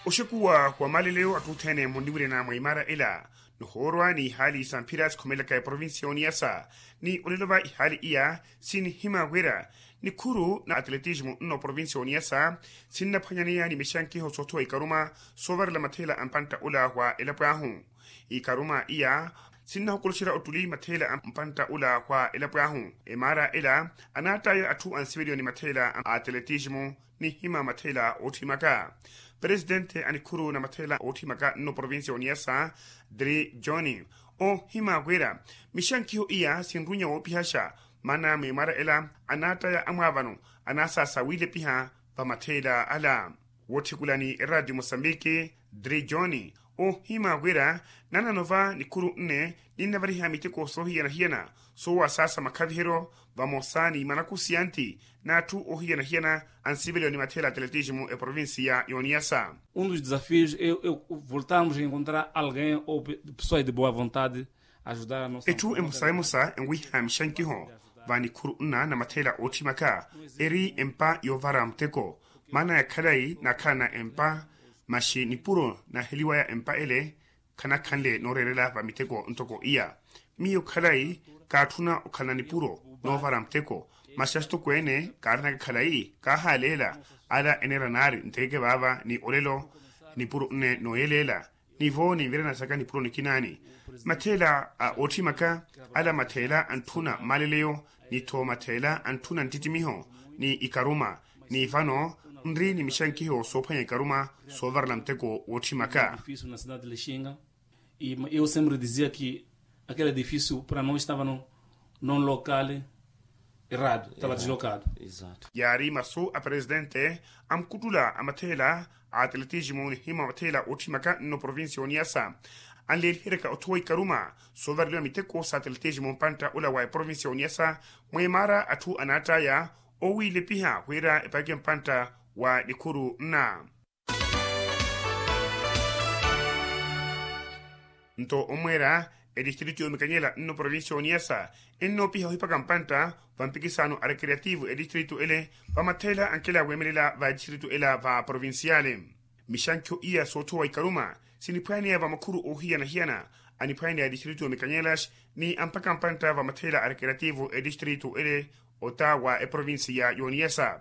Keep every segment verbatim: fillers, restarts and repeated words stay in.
Oxekuwa wa maleleyo atthu othene munniwirena mwa imara ela, nihoorwa ni ihaali sa mphira sikhomelaka eprovincia ya oniyasa. Ni olelo va ihaali iya sinihima wira nikhuru na atletismo nno provincia ya oniyasa sinnaphwanyaneya ni mixankiho soothowa ikaruma soovarela matheela a mpantta ola wa elapo ahu. Ikaruma iya sinnahokoloxerya ottuli matheela a mpantta ola wa elapo ahu. Emaara ela anaattaya atthu ansiveliwa ni matheela a atletismo nihima matheela ootthimaka. Presitente a nikhuru na matheela ootthimaka nno provincia ya oniyasa dri john ohima wira mixankiho iya sinrunya woopihaxa. Maana mwiimara ela anaattaya amwaavano anaasaasa wiilepiha va matheela ala. Wootthekulani eraatiyo mosambiki dri john ohima wira nanano va nikhuru nne ninnavariha miteko soohiyana-hiyana soowasaasa makhaviheryo vamosa ni manakusi anti n'atthu ohiyana-hiyana ansiveliwa ni matheela atletismo eprovincia ya oniyasa. Um dos desafios é voltarmos a encontrar alguém ou pessoas de boa vontade ajudar a nossa etthu emosa emosa enwiha mixankiho va nikhuru nna na matheela ootthimaka eri empa yoovara muteko. Maana ya khalayi naakhalana empa maxi nipuro naaheliwaya empa ele khanakhanle nooreerela va miteko ntoko iya. Miyo khalayi kaatthuna okhalana nipuro noovara muteko. Masi asitokweene kaaranaka khalayi kaahaleela ala eneera naari ntekeke vaava ni olelo nipuro nne nooyeleela nivo ninvirana saka nipuro nikinaani. Matheela a ootthimaka ala matheela antthuna mmaleleyo ni tho matheela antthuna nttittimiho ni ikaruma. Ni vano nri ni mixankiho soophwanya ikaruma soovarela muteko wootthimaka. Difícil na cidade de lixinga. E eu sempre dizia que aquele edifício para nós estava no non local errado, estava deslocado. Yaari masu a presitente a mukuttula a matheela a atletismo nihima matheela ootthimaka nno provincia ya oniyasa anleeliheryaka othowa ikaruma soovareliwa miteko sa atletismo mpantta ola wa eprovincia ya oniyasa. Mweemaara atthu anaattaya owiilepiha wira epakeke mpantta wa nikhuru nna. Nto omweera edistritu yoomikanyela nno provincia ya oniyasa ennoopiha ohipaka mpantta va mpikisaano a recreativo edistritu ele va matheela ankela weemelela va edistritu ela va provinciale. Mixankhiho iya soothowa ikaruma siniphwaneya va makhuru oohiyana-hiyana aniphwaneya edistritu ya omikanyelas ni ampaka mpantta va matheela a recreativo edistritu ele ota wa eprovincia ya oniyasa.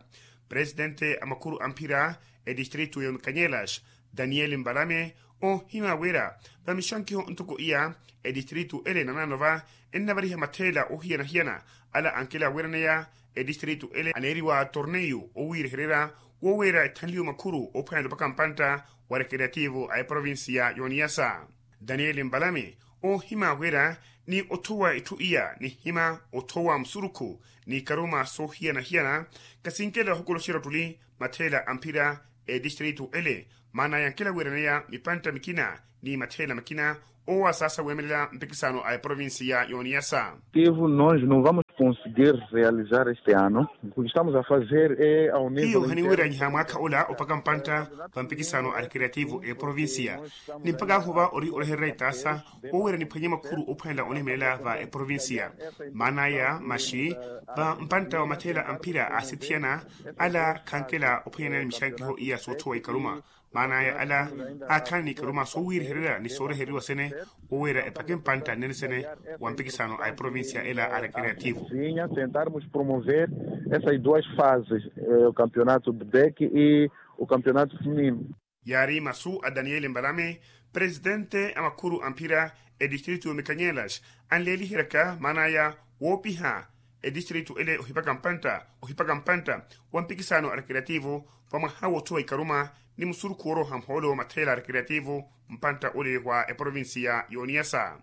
Presitente a makhuru a mphira edistritu ya omikanyelas daniel mbalame ohima wira va mixankhiho ntoko iya edistritu ele nanano va ennavariha matheela oohiyana-hiyana ala ankela wiiraneya edistritu ele aneeriwa torneio owiirehererya woweera ethanliwe makhuru oophwanela opaka mpantta wa recreativo a eprovincia ya oniyasa. Daniel mbalame oohima wira ni othowa itthu iya nihima othowa musurukhu ni ikaruma soohiyana-hiyana kasinkela ohokoloxerya ottuli matheela a mphira edistritu ele maana yankela wiiraneya mipantta mikina ni matheela makina owasaasa weemelela mpikisaano a eprovincia ya oniyasa. Tivo nós não vamos conseguir realizar este ano o que estamos a fazer é ao nível hiyo haniwiranyiha mwaakha ola opaka mpantta va mpikisaano a recreativo eprovincia ni mpaka ahuva ori orehererya itaasa oweera niphwanye makhuru ophwanela onihimelela va eprovincia. Maana aya maxi va mpantta wa matheela a mphira aasithiyana ala khankela ophwanyanani mixankiho iya soothowa ikaruma. Maana aya ala aakhalani ikaruma soowiirihererya ni soorehereriwa sene oweera epake mpantta nnene sene wa mpikisaano a eprovincia ela a recreativo. Sentarmos promover essas duas fases o campeonato bebek e o campeonato feminino. Yaari masu a daniel mbalame presitente a makhuru a mphira edistritu ya omikanyelas anleeliheryaka maana aya woopiha edistritu ele ohipaka mpantta ohipaka mpantta wa mpikisaano a recreativo va mwaha woothowa ikaruma ni musurukhu wooroha muhoolo matheela a recreativo mpantta ole wa eprovincia ya oniyasa.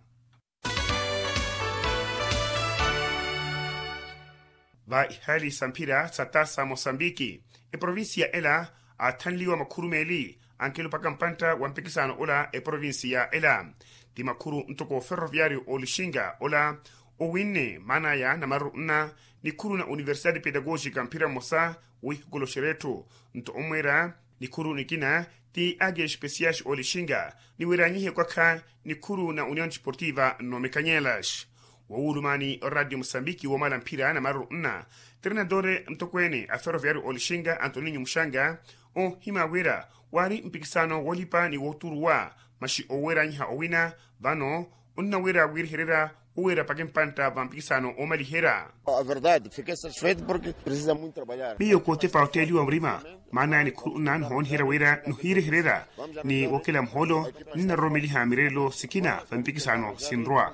Va ihaali sa mphira sa taasa mosambiki eprovincia ela aathanliwa makhuru meeli ankela opaka mpantta wa mpikisaano ola eprovincia ela ti makhuru ntoko ferroviario olixinga ola owinne maana aya namaruru nna nikhuru na universidade pedagogica mphira mmosa wiihokoloxerya etthu nto omweera nikhuru nikina ti age especiais olixinga niwiranyihe kwakha nikhuru na union desportiva nnomikanyelas. Wowulumani oradio mosambiki woomala mphira namaruru nna trenadore ntokweene a ferroviario olixinga antoninho muxanga Ohimya wira waari mpikisano woolipa ni wooturuwa, maxi oweeranyiha owina vano onnaweera wiirihererya oweera paka empantta va mpikisano oomaliherya. Verdade, fiquei satisfeito porque precisa muito trabalhar. Miyo kootepa otteeliwa murima, maana ya nikhuru nna nihooniherya wira nihiirehererya ni wokela muhoolo. Ninnaroromeliha mireerelo sikina va mpikisano sinrwa.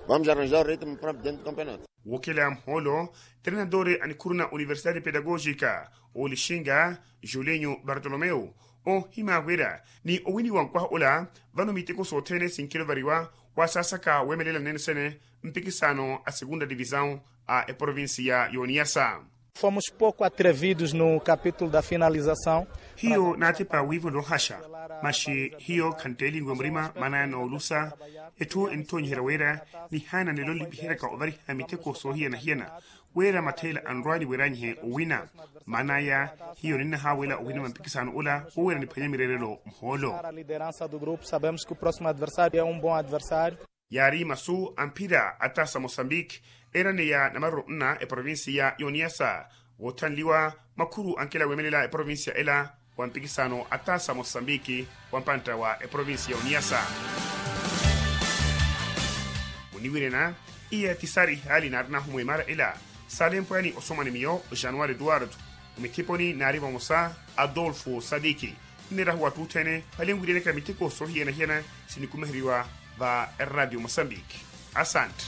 Vamos arranjar o ritmo para dentro do campeonato. Wokela muhoolo, treinador a nikhuru na universidade pedagógica oolixinga julinho bartolomeu, ohimya wira ni owiniwa nkwaha ola vano miteko sothene sinkilovariwa wasaasaka weemelela nene sene mpikisano a segunda divisão a eprovincia y'oniyasa. Fomos pouco atrevidos no capítulo da finalização. Hiyo naatepa wiivo noohaxa, maxi hiyo khantteelinwe murima maanaya noolusa. Etthu enttoonyiherya wira nihaana nelo nlipiheryaka ovariha miteko soohiyana-hiyana wira matheela anrwa niweeranyihe owina. Maanaya hiyo ninnahaawela owina va mpikisano ola wowira niphwanya mireerelo muhoolo. Para a liderança do grupo sabemos que o próximo adversário é um bom adversário. Yaari masu a mphira a taasa mosambique eeraneya namaruro nna eprovincia y'oniyasa woothanliwa makhuru ankela weemelela eprovincia ela wa mpikisano a taasa mosambique wa mpantta wa eprovincia y'oniyasa. Muniwirena iya ti saari ihaali naarinahu mweemara ela. Saalempwani osomani miyo januari eduwardo, omithiponi naari vamosa adolfo sadiki. Nneerahu wattu othene valenwiryanyaka miteko soohiyana-hiyana sinikumiheriwa va eradio mosambique. Asante.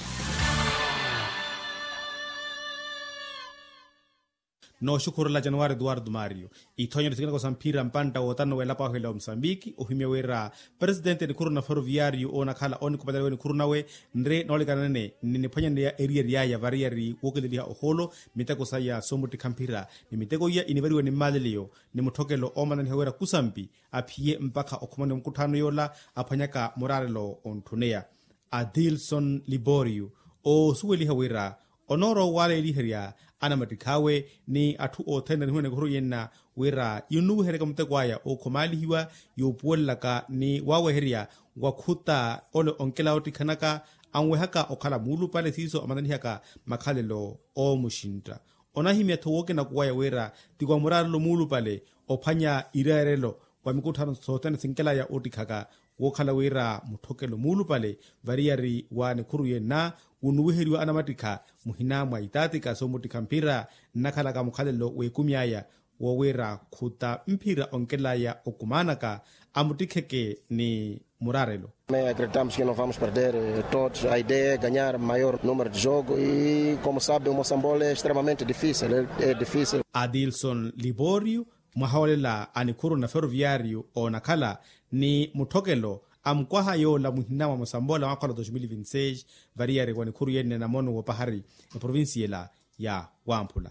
Nooxukhurela januari eduwardo mario. Ithoonyelo sikinako sa mphira mpantta wootano w'elapo ahu ela wa musambiki ohimya wira presidente nikhuru na ferroviario oonakhala oonikhupaleliwa nikhuru nawe nri noolikana nene niniphwanyaneya eriyari yaya variyari wookeleliha ohoolo. Miteko saya soomuttikha mphira ni miteko iya inivariwa ni mmaaleliyo ni mutthokelo oomananiha wira kusampi aphiye mpakha okhumaniwa mukutthaano yoola aphwanyaka muraarelo ontthuneya. Adilson liborio oosuweliha wira onoorowa owaaleeliherya anamattikhawe ni atthu othene anihuwene ekhuru yenna wira yinnuwiheryaka muteko aya ookhumaalihiwa yoopuwelelaka ni waaweherya wakhuta ole onkela oottikhanaka anwehaka okhala muulupale siiso amananihaka makhalelo oomuxintta. Onahimya-tho wookinakuwaya wira ti wa muraarelo muulupale ophwanya ireerelo wa mikutthaano sothene sinkelaya oottikhaka wookhala wira mutthokelo muulupale variyari wa nikhuru yenna wunnuwiheriwa anamattikha muhina mwa itatika soomuttikha mphira nnakhalaka mukhalelo w'ekumi aya woowira khuta mphira onkelaya okumaanaka amuttikheke ni muraarelo. Acreditamos que não vamos perder todos a ideia é ganhar maior número de jogo e como sabe o moçambola é extremamente difícil é difícil. Adilson liborio mwahoolela a nikhuru na ferroviario oonakhala ni mutthokelo a mukwaha yoola muhina mwa musamboola mwakhola dos mil vinti seis variyari wa nikhuru yenne na mono w'opahari eprovincia ela ya wamphula.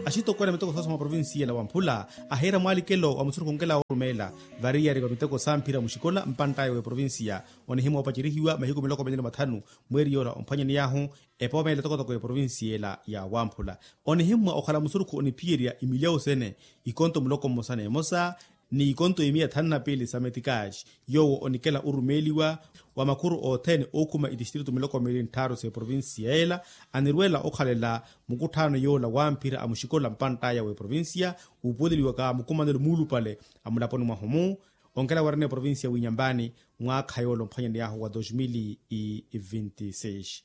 Axitokweene miteko soosa mwa provincia ela wamphula ahiira mwalikelo wa musurukhu onkela woorumeela variyari wa miteko samphira muxikola mpanttaya w'eprovincia onihimwa opacerihiwa mahiku miloko mili ni mathanu mweeri yoola omphwanyaniy'ahu epoomeela etokotoko y'eprovincia ela ya wamphula. Onihimmwa okhala musurukhu oniphiyerya imilyawu sene ikonto muloko mmosa n'emosa ni ikonto imiya thanu na piili sa metikaxi yoowo onikela orumeeliwa wa makhuru othene ookhuma itistritu miloko miili ntthaaru s'eprovincia ela anirweela okhalela mukutthaano yoola wamphira a muxikola mpanttaya w'eprovincia wuupuweleliwaka mukumanelo muulupale a mulaponi mwahu-mu onkela weerana eprovincia w'inyampani mwaakha yoola omphwanyaniy'ahu wa dos mil vinti seis.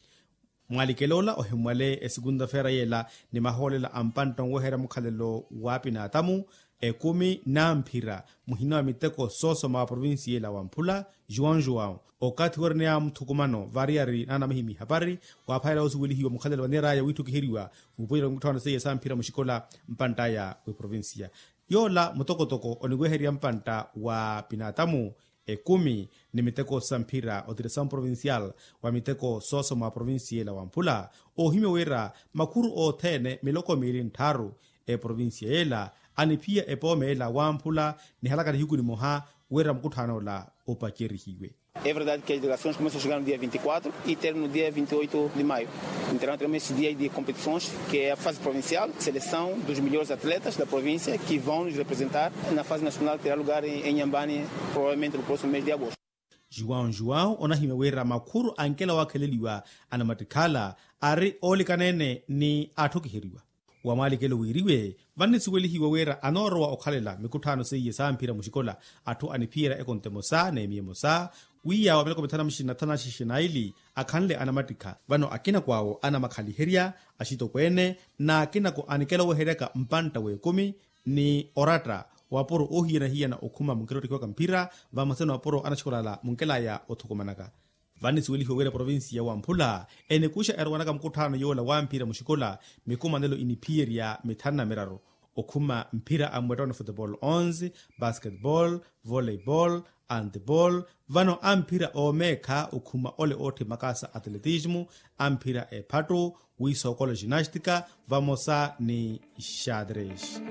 Mwalikela ola ohimmwale esekunta feera yeela ni mahoolela a mpantta onweherya mukhalelo w'apinaatamu ekumi n'amphira muhina wa miteko soosoma wa provincia ela wamphula juwau juwau okathi weereneya muthukumano variyari naanamihimi ihapari waaphayela woosuwelihiwa mukhalelo vaneeraya wiitthukiheriwa wuupuwela wa mikutthaano seiya samphira muxikola mpanttaya w'eprovincia. Yoola mutokotoko oniweherya mpantta wa pinaatamu ekumi ni miteko sa mphira o diresaw provincial wa miteko soosoma wa provincia ela wamphula oohimya wira makhuru othene miloko miili ntthaaru eprovincia ela aniphiya epooma ela wamphula nihalaka nihiku nimoha wira mukutthaano ola opacerihiwe. É verdade que as delegações começam a chegar no dia vinte e quatro e termina no dia vinte e oito de maio. Entrando também esses dias de competições, que é a fase provincial, seleção dos melhores atletas da província que vão nos representar na fase nacional que terá lugar em, em Inhambane, provavelmente no próximo mês de agosto. Juwau juwau onahimya wira makhuru ankela wakheleliwa anamattikhala ari oolikana-ene ni atthukiheriwa. Wa mwaalikelo wiiriwe vannisuwelihiwa wira anoorowa okhalela mikutthano seiye samphira muxikola atthu aniphiyerya ekonto emosa n'emiya emosa, wiiya wa miloko mithanu na muxina thanu na xixinaili akhanle anamattikha vano akinako awo anamakhaliherya axitokweene n'akinako anikela oweheryaka mpantta w'ekumi ni oratta wapuro oohiyana-hiyana okhuma munkela ottikiwaka mphira vamosa ni wapuro anaxikola ala munkelaya othukumanaka. Vannisuwelihiwa wira provincia wamphula enikuxa erowanaka mukutthano yoola wamphira muxikola mikumanelo iniphiyerya mithanu na miraru okhuma mphira a mmwettono futebol onze, basketbol, voleibol, antebol, vano amphira oomeekha okhuma ole ootthe makaasa atletismu, amphira ephattu, wiisookola ginastika vamosa ni xadres.